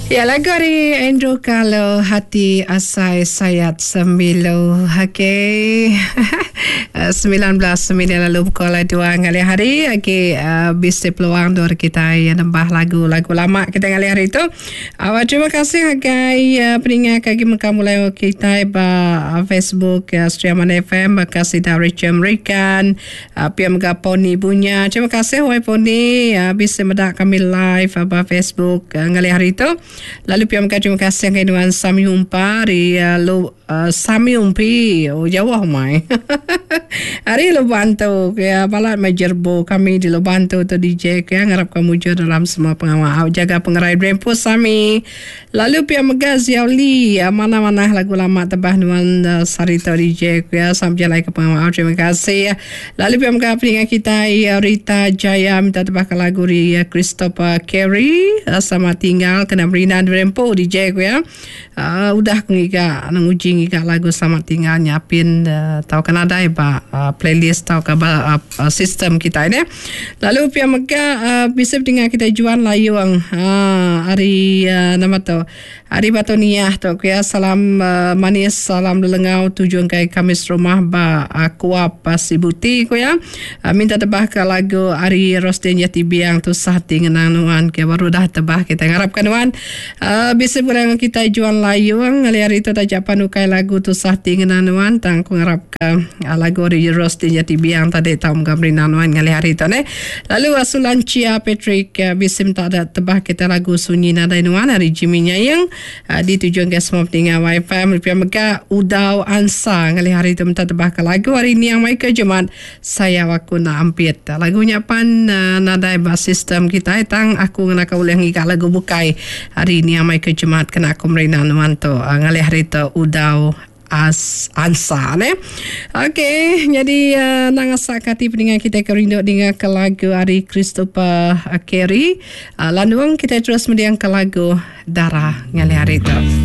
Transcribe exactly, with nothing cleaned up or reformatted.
Ya lagu ari Andrew Carlo Hati Asai Sayat Sembilu. Okey. Semilan belas minit lalu pukul dua ngalih hari agi uh, bisi peluang dua kita yang nembah lagu-lagu lama kita ngalih hari tu. Uh, terima kasih agai uh, peninga kagi meka mulai kita ba Facebook uh, Sri Aman F M baka sida Richard American, uh, pia mega Poni Bunya. Terima kasih wai Poni uh, bisa meda kami live uh, ba Facebook uh, ngalih hari tu. Lalu pia mega terima kasih ngagai nuan Sami Humpa ari uh, lu uh, Sami Umpi. Oh, jauh mai. Ari lu bantu ya balat mai jerbo kami di lu bantu tu D J ya, ngarap kamu mujur dalam semua pengawa. Jaga pengerai Brempu Sami. Lalu pia mega Ziauli, uh, mana-mana lagu lama tebah nuan uh, Sarito D J ya sampai jalan ke pengawa. Terima kasih. Lalu pia mega peninga kita ya, Rita Jaya minta tebah ke lagu ri uh, Christopher Carey uh, sama tinggal kena Merina Brempu D J ya. Uh, udah aku ngiga nguji ngiga lagu sama tinggal nyapin uh, tau kan ada ba uh, playlist tau ke ba uh, sistem kita ini. Lalu pia mega uh, bisa dengar kita Juan Layung uh, hari uh, nama tu hari Batu Niah tu ya, salam uh, manis, salam lelengau tujuan kai kami rumah ba uh, Kuap uh, Sibuti ku ya, uh, minta tebah ke lagu ari Rostin Yati Biang tu Sahati Ngenang Nuan ke baru dah tebah kita, ngarapkan nuan uh, bisa berang kita Juan Layung ngali hari itu tajak panukai lagu tu Sahati Ngenang Nuan, tang ku ngarap ke uh, lagu ari Rostin Yati Biang tadi tau gamri nuan ngali hari itu ne. Lalu Asulan Chia Patrick uh, bisa minta ada tebah kita lagu Sunyi Nadai Nuan hari Jimmy Nyayang uh, ditujuan ke semua pendengar Wi-Fi. Lebih mega Udau Ansa ngali hari itu minta tebah ke lagu hari ni yang Michael Jumat Saya Waku Nak Ampit. Lagunya pan uh, nadai ba sistem kita, tang aku ngena boleh ngiga lagu bukai hari ni yang Michael Jumat kena aku merina nuan tu uh, ngali hari itu Udau As Ansa ne. Okey, jadi uh, nang asak kati pendengar kita ke rindu dengar ke lagu hari Christopher uh, Carey. Uh, lalu kita terus mendiang ke lagu Darah ngali hari itu.